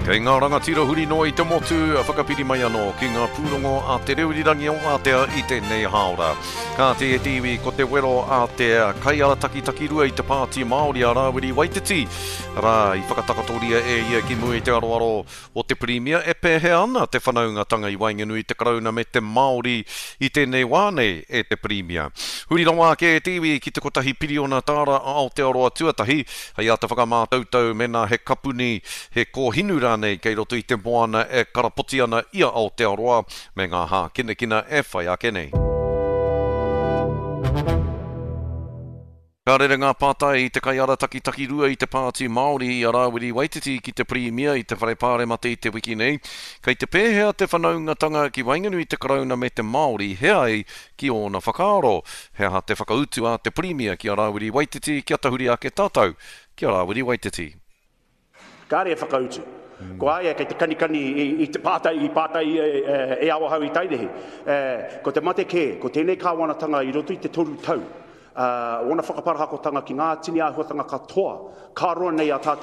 Kei ngā rangatira huri noa i te motu, whakapiri mai anō ki ngā pūrongo a Te Reo Irirangi o Ātea i tēnei hāora. Kāti e te iwi, ko te wero a te kaiarataki takirua i te Pāti Māori a Rāwiri Waititi, arā, i whakatakatoria e ia ki mua i te aroaro o te Pirimia e pēhea ana te whanaungatanga i waenganui i te Karauna me te Māori i tēnei wā nei e te Pirimia. Huri rawa ake e te iwi ki te kotahi piriona tāra a Aotearoa tuatahi hei āta whakamātautau mēnā he kapuni, he kōhinu rānei kei roto i te moana e karapoti ana i a Aotearoa me ngā hākinakina e whai ake nei. Ka rere ngā pātai i te kaiarataki takirua i te Pāti Māori i a Rāwiri Waititi ki te Pirimia i te Whare Pāremata i te wiki nei. Kei te pēhea te whanaungatanga ki waenganui i te Karauna me te Māori he ai ki ōna whakaaro? He aha te whakautu a te Pirimia ki a Rāwiri Waititi kia tahuri ake tātou ki a Rāwiri Waititi? Kāre e whakautu. Ko a ia kei te kanikani i te pātai i pātai e Awahau i Tairihi. Ko te mate kē, ko tēnei kāwanatanga i roto i te toru tau, ōna whakaparahakotanga ki ngā tini āhuatanga katoa, ka roa nei a tātou.